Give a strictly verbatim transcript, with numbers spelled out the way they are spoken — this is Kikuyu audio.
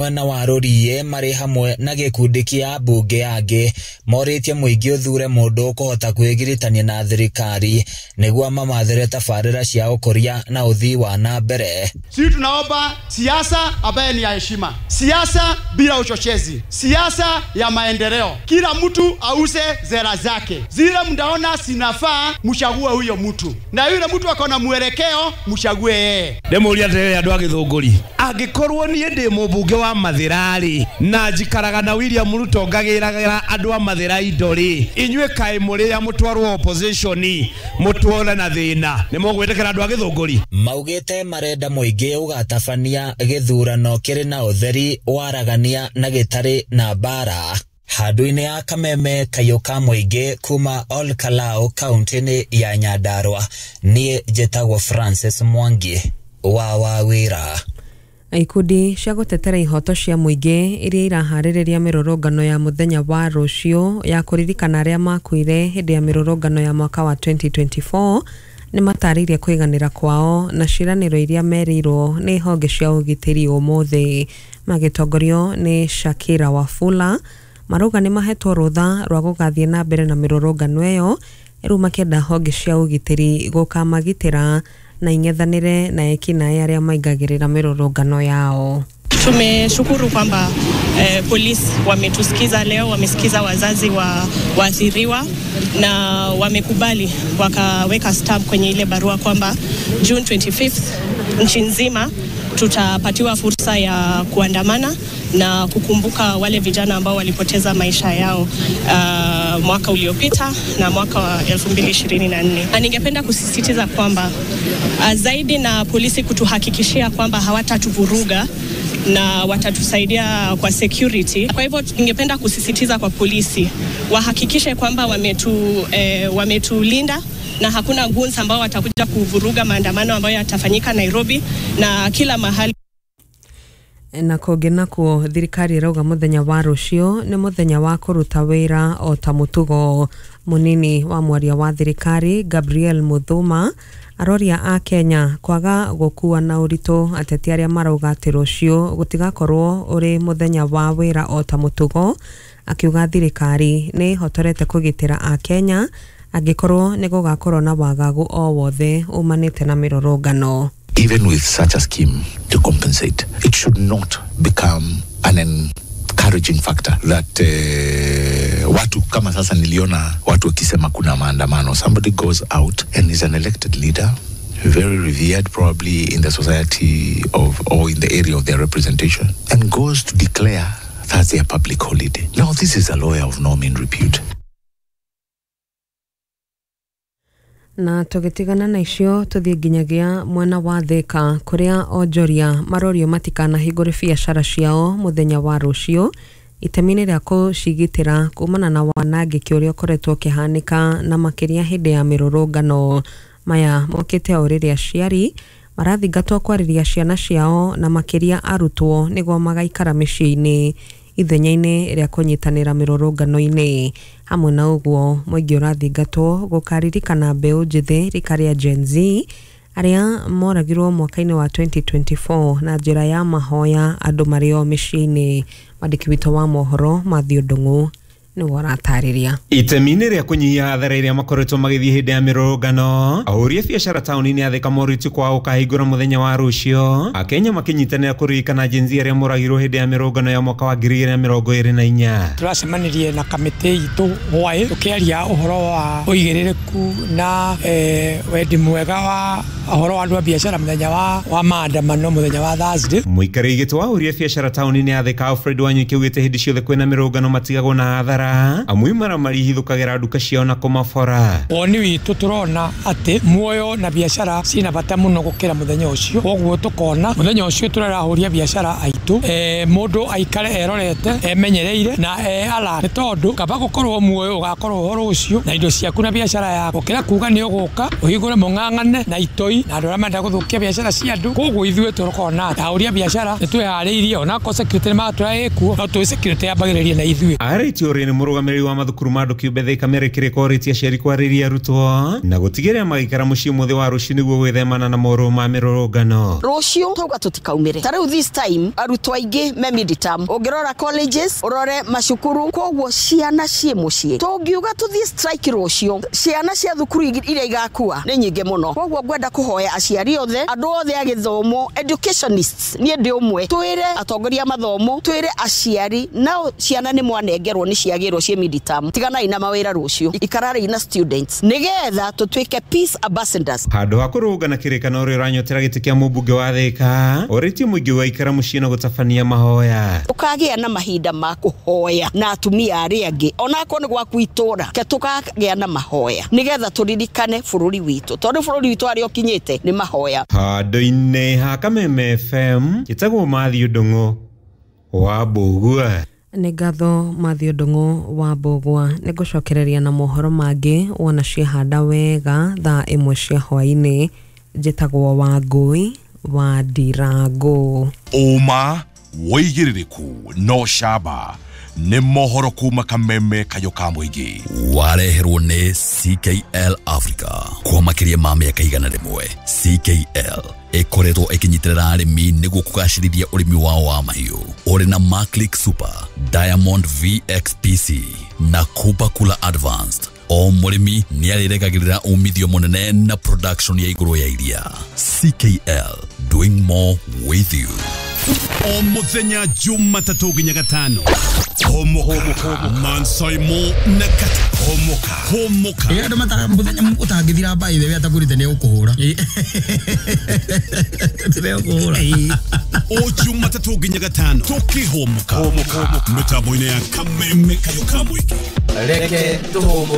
Mwena wa Rũriĩ marĩ hamwe na gĩkundi kĩa ambunge angĩ morĩtie mũingĩ ũthure mũndũ ũkũhota kwĩgiritania na thirikari nĩguo mamathĩre tabarĩra cia ũkũria na ũthii wa na mbere. Sisi tunaomba siasa ambaye ni ya heshima, siasa bila uchochezi, siasa ya maendeleo. Kila mtu auze zera zake, zile mtaona sinafaa, mchague huyo mtu, na yule mtu akona mwelekeo mchague yeye. Ndĩmũria atĩrĩrĩ andũ a Gĩthũngũri, angĩkorwo niĩ ndĩ mũmbunge wa Mathĩra-rĩ, na njikaraga na William Ruto ngagĩragĩra andũ a Mathĩra indo-rĩ, inyuĩ kaĩ mũrĩ a mũtwarwo opposition mũtwore na thĩna, nĩ mũgwĩtĩkĩra andũ a Gĩthũngũri? Maugĩte marenda mũingĩ ũgatabania gĩthurano kĩrĩ na ũtheri, waragania na gĩtarĩ na mbara. Handũ-inĩ ya kameme kayũ ka mũingĩ kuma Ol Kalou kaunti-inĩ ya Nyandarua, niĩ njĩtagwo Francis Mwangi wa Wawĩra. Ikundi cia gũtetera ihoto cia mũingĩ iria iraharĩrĩria mĩrũrũngano ya mũthenya wa rũciũ ya kũririkana arĩa makuire hĩndĩ ya mĩrũrũngano ya mwaka wa twenty twenty-four nĩ matarĩirie kũiganĩra kwao na ciĩranĩro iria merĩirwo nĩ honge cia ũgitĩri ũmũthĩ. Magĩtongorio nĩ Shakira Wafula, marauga nĩ mahetwo rũtha rwa gũgathiĩ na mbere na mĩrũrũngano ĩyo, rĩu makĩenda honge cia ũgitĩri gũkamagitĩra na ing'ethanĩre na ekinaĩ arĩa maingagĩrĩra mĩrũrũngano yao. Tumeshukuru kwamba eh, polisi wametusikiza leo, wamesikiza wazazi wa waathiriwa na wamekubali, wakaweka stamp kwenye ile barua kwamba June twenty-fifth nchi nzima tutapatiwa fursa ya kuandamana na kukumbuka wale vijana ambao walipoteza maisha yao uh, mwaka uliopita na mwaka wa elfu mbili ishirini na nne. Na ningependa kusisitiza kwamba uh, zaidi na polisi kutuhakikishia kwamba hawatatuvuruga na watatusaidia kwa security. Kwa hivyo ningependa kusisitiza kwa polisi wahakikishe kwamba wametu, eh, wametulinda na hakuna goons ambao watakuja kuvuruga maandamano ambayo yatafanyika Nairobi na kila mahali. Na kũngĩ nakuo thirikari ĩrauga mũthenya wa rũciũ nĩ mũthenya wa kũruta wĩra o ta mũtugo. Mũnini wa mwaria wa thirikari Gabriel Muthuma aroria a Kenya kwaga gũkua na ũritũ ateti arĩa marauga atĩ rũciũ gũtigakorwo ũrĩ mũthenya wa wĩra o ta mũtugo, akiuga thirikari nĩ ĩhotorete kũgitĩra a Kenya angĩkorwo nĩ gũgakorwo na wagagu o wothe umanĩte na mĩrũrũngano. Even with such a scheme to compensate, it should not become an encouraging factor that uh, watu kama sasa niliona watu wakisema kuna maandamano. Somebody goes out and is an elected leader, very revered probably in the society of or in the area of their representation, and goes to declare that's their public holiday. Now this is a lawyer of no mean repute. Na tũgĩtigana na icio tũthiĩ nginyagia mwena wa Thika kũrĩa onjoria marorio matikanahingũre biacara ciao mũthenya wa rũciũ itemi-inĩ rĩa kũcigitĩra kumana na wanangĩki ũrĩa ũkoretwo ũkĩhanĩka na makĩria hĩndĩ ya mĩrũrũngano. Maya mokĩte o rĩrĩa aciari marathingatwo kwarĩria ciana ciao na makĩria arutwo nĩguo magaikara mĩciĩ-inĩ ithenya-inĩ rĩa kũnyitanĩra mĩrũrũngano-inĩ. Hamwe na ũguo mũingĩ ũrathingatwo gũkaririkana mbeũ njĩthĩ rika rĩa Gen Z arĩa moragirwo mwaka-inĩ wa twenty twenty-four na njĩra ya mahoya andũ marĩ o mĩciĩ-inĩ. Mwandĩki witũ wa mohoro Mathew Ndung'u nĩwe ũratarĩria. Itemi-inĩ rĩa kũnyihia hathara iria makoretwo magĩthiĩ hĩndĩ ya mĩrũrũngano, ahũri a biacara taũni-inĩ ya Thika morĩtio kwao gũkahingũra mũthenya wa rũciũ, Akenya makĩnyitanĩra kũririkana Gen Z arĩa moragirwo hĩndĩ ya mĩrũrũngano ya mwaka wa ngiri igĩrĩ na mĩrongo ĩrĩ na inya. Tũracemanirie na kamĩtĩ itũ hwaĩ tũkĩaria ũhoro wa ũigĩrĩrĩku na eh, wendi mwega wa ũhoro wa andũ a biacara mũthenya wa wa maandamano mũthenya wa Thursday. Mũikarĩri gĩtĩ wa ahũri a biacara taũni-inĩ ya Thika Alfred Wanyuike augĩte hĩndĩ ciothe kwĩna mĩrũrũngano matigagwo na hathara, amwe maramari hithũkagĩra nduka ciao na kũmabora. Woni witũ tũrona atĩ muoyo na biacara ciĩna bata mũno gũkĩra mũthenya ũcio, koguo tũkona mũthenya ũcio tũrarahũria biacara aitũ, eh, mũndũ aikare erorete emenyereire na e alert, nĩ tondũ kaba gũkorwo muoyo ũgakorwo ũhoro ũcio na indo ciaku na biacara yaku gũkĩra kuga nĩ ũgũka ũhingũre mũng'ang'ane na itoi na andũ arĩa marenda gũthũkia biacara cia andũ. Koguo ithuĩ tũrokona ahũri a biacara nĩ twĩharĩirie, onakorwo security nĩ magatwĩra ĩkuo, no tũĩ security yambagĩrĩria na ithuĩ. Arĩtie Meru mũrũgamĩrĩri wa mathukuru ma andũ kĩũmbe Thika Mary Kĩrĩko orĩtie aciari kwarĩria arutwo na gũtigĩrĩra magĩikara mũciĩ mũthĩ wa rũciũ nĩguo gwĩthemana na mohoro ma mĩrũrũngano. Rũciũ tauga tũtikaumĩre ta rĩu this time arutwo aingĩ me midterm, ũngĩrora colleges ũrore macukuru, koguo ciana ciĩ mũciĩ. Tũngiuga tũthiĩ strike rũciũ, ciana cia thukuru iria igakua nĩ nyingĩ mũno. Koguo ngwenda kũhoya aciari othe, andũ othe a gĩthomo, educationists, niĩ ndĩ ũmwe, twĩre atongoria a mathomo, twĩre aciari nao ciana nĩ mwanengerwo nĩ ciagĩrwo ciĩ midterm, tiganai na mawĩra rũciũ, ikararei na students nĩgetha tũtuĩke peace ambassadors. Handũ ha kũrũgana kĩrĩkano ũrĩa ũranyotera gĩtĩ kĩa mũmbunge wa Thika orĩtie mũingĩ wa ikara mũciĩ na gũtabania mahoya. Ũkagĩa na mahinda ma kũhoya na atumia arĩa angĩ onakorwo nĩ gwaku itũra, ke tũkagĩa na mahoya nĩgetha tũririkane bũrũri witũ, tondũ bũrũri witũ harĩa ũkinyĩte nĩ mahoya. Handũ-inĩ ha Kameme F M njĩtagwo Matthew Ndung'u wa Mbũgua. Nĩ ngatho Matthew Ndung'u wa Mbũgua. Nĩ ngũcokereria na mohoro mangĩ wona ciahanda wega thaa ĩmwe cia hwaĩ-inĩ. Njĩtagwo Wangũi wa Ndirango. Ũma wĩigĩrĩrĩku no camba nĩ mohoro kuma Kameme kayũ ka mũingĩ. Wareherwo nĩ C K L Africa kwa makĩria ma mĩaka igana rĩmwe. C K L ĩkoretwo ĩkĩnyitĩrĩra arĩmi nĩguo kũgacĩrithia ũrĩmi wao wa mahiũ. Ũrĩ na Maclick Super, Diamond V X P C na Kuba Kula Advanced. O mũrĩmi nĩ arĩregagĩrĩra umithio mũnene na production ya igũrũ ya iria. C K L, doing more with you. O mũthenya Jumatatũ nginya gatano. Homoka Mansaimo na Kata. Homoka Homoka. Ĩĩ andũ mata mũthenya ũtangĩthira mbaĩ we atagũrĩte nĩ ũkũhũra. Nĩ ũkũhũra. O Jumatatũ nginya gatano tũkĩhomoka. Homoka mĩtambo-inĩ ya Kameme kayũ ka mũingĩ. Reke tũhũmũke.